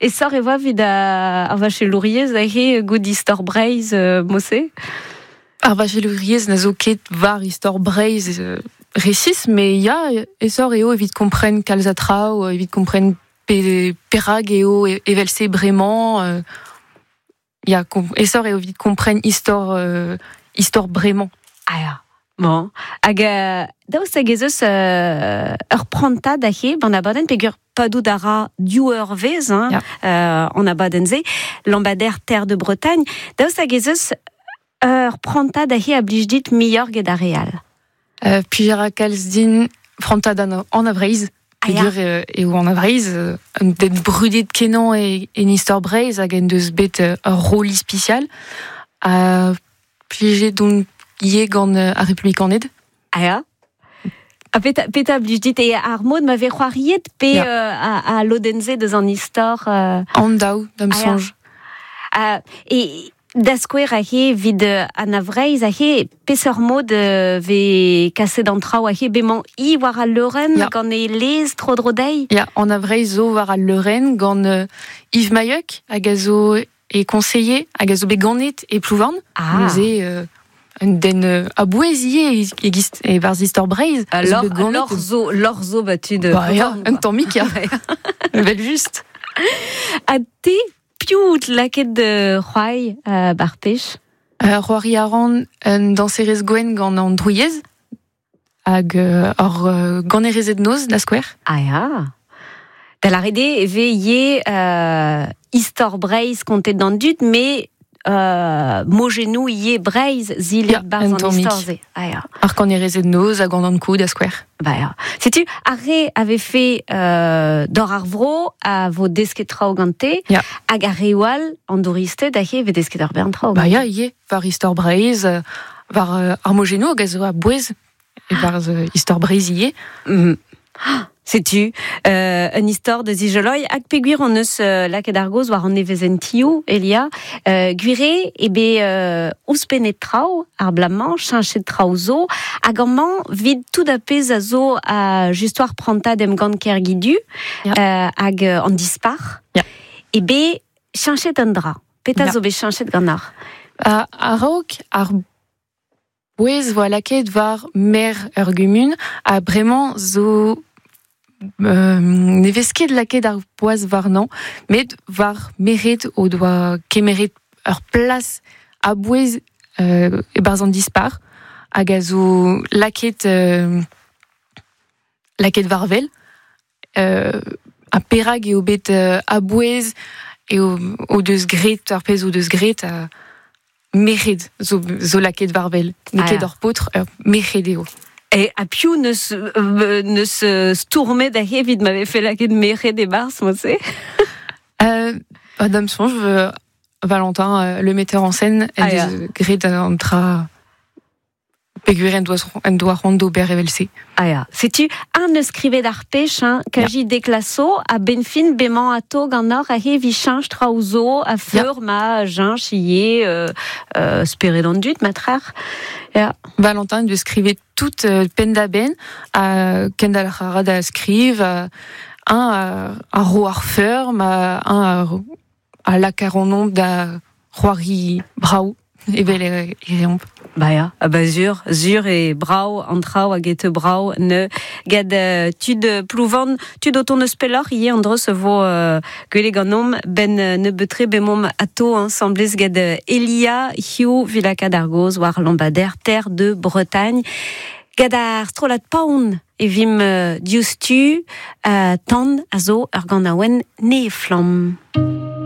E sor e oa evit ar vachelouriezh aze gout istor Breizh mod-se? Ar vachelouriezh na zo ket war istor Breizh resis, met ya, aesoc'h eo evit kompren kalz a traoù, evit kompren pe perak eo evel-se bremañ. Ya, aesoc'h eo evit kompren istor istor bremañ. Ah ya. Bon. Hag daoust hag ez eus ur prantad aze gant abadenn peogwir padout a ra div eurvezh hein, Ya. an abadenn-se, Lambadaire Terre de Bretagne. Daoust hag ez eus ur prantad aze a blij dit muioc'h get ar re all? Plij a ra kalz din prantad an Anna Vreizh. Ah ya. Peogwir eo Anna Vreizh un den brudet-kenañ en istor Breizh hag en deus bet ur roll ispisial. Ha plijet on ivez gant ar Republikaned. Ah ya. Ha petra, petra blij dit e ar mod ma vez c'hoariet pe Ya. a lodenn-se deus an istor An daou, da'm Ah ya. soñj. E da skouer aze evit Anna Vreizh aze peseurt mod vez kaset an traoù aze bemañ hi war al leurenn Ya. gant e lez tro-dro dezhi? Ya, Anna Vreizh zo war al leurenn gant Yves Mailhuc hag a zo e conseiller hag a zo bet ganet e Plouvorn. Ah. Neuze un den a-bouez ivez e-giz e-barzh istor Breizh. Ah, A zo lor, bet ganet lor zo, lor zo ba tud Bah ya, Plouvorn, un quoi. tammig, ya. Evel-just. Ha te, piv out lakaet c'hoari bar pech? C'hoari a ran un dañserez gwenn gant an drouiez hag ur ganerezed noz, da skouer. Ah ya. Da lâret eo e vez ivez istor Breizh kontet d'an dud, met mojennoù ivez Breizh zilet Ya, barzh un an tammig. istor-se. Ah ya. Ar kanerezed noz hag an Ankou, da skouer. Bah ya. Setu, ar re a vefe dor ar vro a vo desket traoù gante, Ya. hag ar reoù all, an douristed, aze e vez desket ur bern traoù. Bah ya, ivez, war istor Breizh, war ar mojennoù hag a zo a-bouez e-barzh istor Breizh ivez. Ah, Setu, un istor da zijoloi hag peogwir hon eus lakaet ar gaoz war an nevezentioù, Elia, gwir eo eo bet ouzhpennet traoù ar bloaz-mañ, cheñchet traoù zo, hag amañ 'vit tout ar pezh a zo a just war prantad emgann Kergidu Ya. hag an dispac'h, Ya. eo bet cheñchet un dra. Petra Ya. zo bet cheñchet ganeoc'h? A-raok ar bouez voa lakaet war maer ur gumun ha bremañ zo ne vez ket lakaet ar boaz warnañ, met war merc'hed o doa kemeret ur plas a-bouez e-barzh an dispac'h hag a zo lakaet lakaet war-wel. Ha perak eo bet a-bouez eo o deus graet ar pezh o deus graet merc'hed zo, zo lakaet war-wel. N'eo Ah ket ya. ur paotr, ur merc'hed eo. E ha piv neus, neus stourmet aze evit ma vefe lakaet merc'hed e-barzh, mod-se? Bah, da'm soñj, Valentin, le metteur en scène, en Ah ya. deus graet an dra peogwir en doa, en doa c'hoant d'ober evel-se. Ah ya. Setu, un neus skrivet ar pech, hein, kaji deklaso, a benn fin bemañ ato ganeoc'h aze evit cheñch traoù zo, a feur ma cheñch ivez spered an dud, ma trec'h. Ya. Valentin en deus skrivet tout penn-da-benn, ha kendalc'h a ra da skriv, un a ro ar feur, ma, un a lak ar an da c'hoari brav, evel e reomp. Bah ya, ah bah zur, zur e brav an traoù hag e teu brav ne gant tud Plouvorn, tud o tont eus pelloc'h ivez an dreuz vo gwelet ganeomp ben nebeut-tre bemomp ato ensemblez gant Elia Hiziv vilakad ar gaoz war Lambadaire Terre de Bretagne. Gant ar strollad paon e vimp diouzhtu tan a zo ur ganaouenn ne flamm.